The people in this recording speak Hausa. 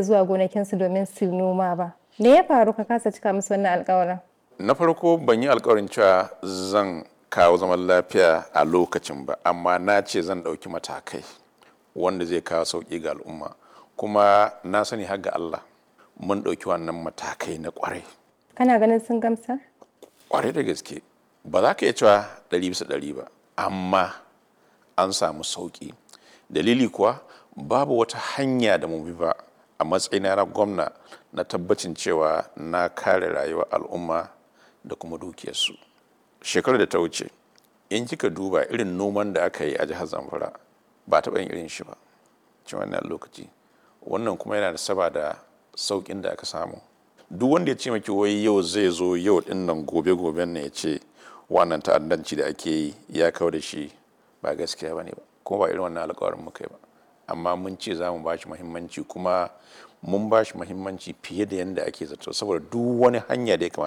Zuwa gonakinsu domin su noma ba. Me ya faru ka kasa cika musu wannan alƙawarin? Na farko, ban yi alkawarin cewa zan kawo zaman lafiya a lokacin ba, amma na ce zan ɗauki matakai wanda zai kawo sauƙi ga al'umma. Kuma na sani har ga Allah mun ɗauki wannan matakai na ƙwarai. Kana ganin sun gamsa? Ƙwarai da gaske. Ba za ka iya cewa 100% ba, amma an samu sauƙi. Dalili kuwa, babu wata hanya da mu bi ba a matsayina na gwamna na tabbacin cewa na kare rayuwar al'umma da kuma dukiyarsu. Shekarar da ta wuce, in kika duba irin noman da aka yi a jihar Zamfara, ba taɓa yin irin shi ba cikin wannan lokaci. Wannan kuma yana da saba da sauƙin da aka samu. Duk wanda ya ce maki wai yau zai zo yau ɗin nan, gobe goben nan, ya ce wannan ta'addanci da ake yi ya kau da shi, ba gaskiya ba ne ba, kuma ba irin wannan alƙawarin muka yi ba. Amma mun ce za mu ba shi muhimmanci, kuma mun ba shi muhimmanci fiye da yadda ake zato, saboda duk wani hanya da ya kamata